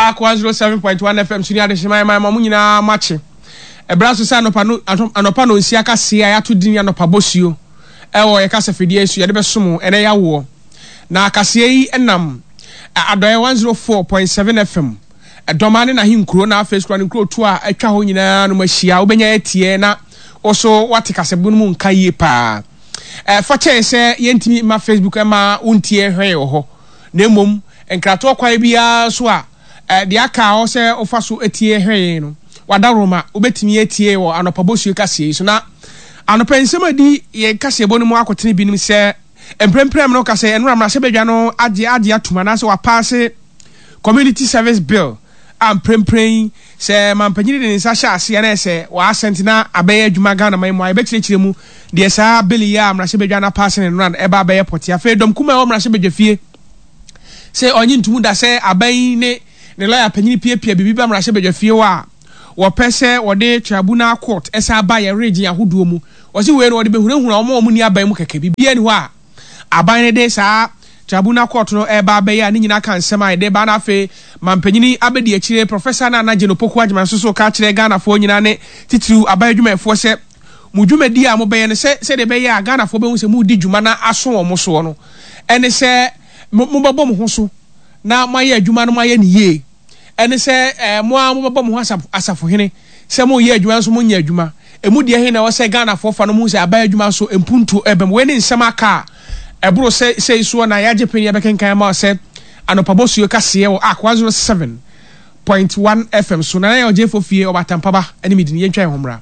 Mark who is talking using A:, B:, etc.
A: Ark 107.1 FM so ne adehyema ɛma ɛma mo nyinaa makye. Ɛberɛ aso sɛ anɔpa no anɔpa no nsia kaseɛ a yɛato din anɔpa bosuo ɛwɔ yɛ kasa fidie so yɛde bɛsom wo ɛnɛ yawoɔ. Na kaseɛ yi nam Adɔeɛ 104.7 FM Dɔma ne n'ahenkuro na afei so ne nkurotoɔ a atwa hɔ nyinaa no ahyia. Wobɛnya atie na wo so woate kasabu no mu nka yie paa. Fa kyɛe sɛ yɛntumi mma Facebook mma wontie hwee wɔ hɔ, na mmom nkratoɔ kwan biara so a deɛ aka hɔ sɛ wofa so tie hwee no, w'adaworoma, wobɛtumi atie wɔ anɔpa bosuo kaseɛ yi so. Na anɔpa nsɛm a ɛdi yɛn kaseɛbɔ no mu akotene binom sɛ, mprempren no ka sɛ ɛnora mmarahyɛbadwa no agye agye atum anaasɛ wapaase Community Service Bill a mprempren yi sɛ mampanyini de ne nsa hyɛ aseɛ na ɛsɛ w'asɛnte na abɛyɛ adwuma Ghana man mu a yɛbɛkyerɛkyerɛ mu deɛ saa bill yi a mmarahyɛbadwa no apaase no nnora no ɛba abɛyɛ pɔte. Afei dɔm kumaa a ɛwɔ mmarahyɛbadwa fie sɛ ɔnye ntom da sɛ aban yi ne ne lɔya panyini piapia biribi ba mmarahyɛbadwa fie hɔ a wɔpɛ sɛ wɔde tribunal court ɛsan ba yɛ region ahodoɔ mu. Wɔse wei no wɔde bɛhunahuna wɔn a wɔnni aban mu kɛkɛ. Biribiara nni hɔ a aban no de saa tribunal court no reba abɛyɛ a ne nyinaa ka nsɛm a yɛde ba na afei mampanyini abɛdi akyire Professor Nana Jane Opoku Agyemang nso so ka kyerɛ Ghanafoɔ nyinaa ne titiriw aban adwumayɛfoɔ sɛ mo dwumadie a mobɛyɛ no sɛ sɛdeɛ ɛbɛyɛ a Ghanafoɔ bɛhu sɛ moredi dwuma na aso wɔn soɔ no ɛne sɛ mobɛbɔ mo ho so na moayɛ adwuma no moayɛ no yie. Ɛne sɛ mo ara mobɛbɔ mo ho asafohene sɛ moreyɛ adwuma nso monyɛ adwuma. Ɛmu deɛ he na ɛwɔ sɛ Ghanafoɔ fa no hu sɛ aban adwuma nso mpuntuo reba mu. Wei ne nsɛm aka a ɛboro sɛ sei soɔ na yɛagye pene yɛbɛkenkan ama wo sɛ anɔpa bosuo kaseɛ wɔ Ark 107.1 FM so. Nana Yaw Gyefo Fie Ɔbaatampaba ne me din. Yɛntwa yɛn ho mmra.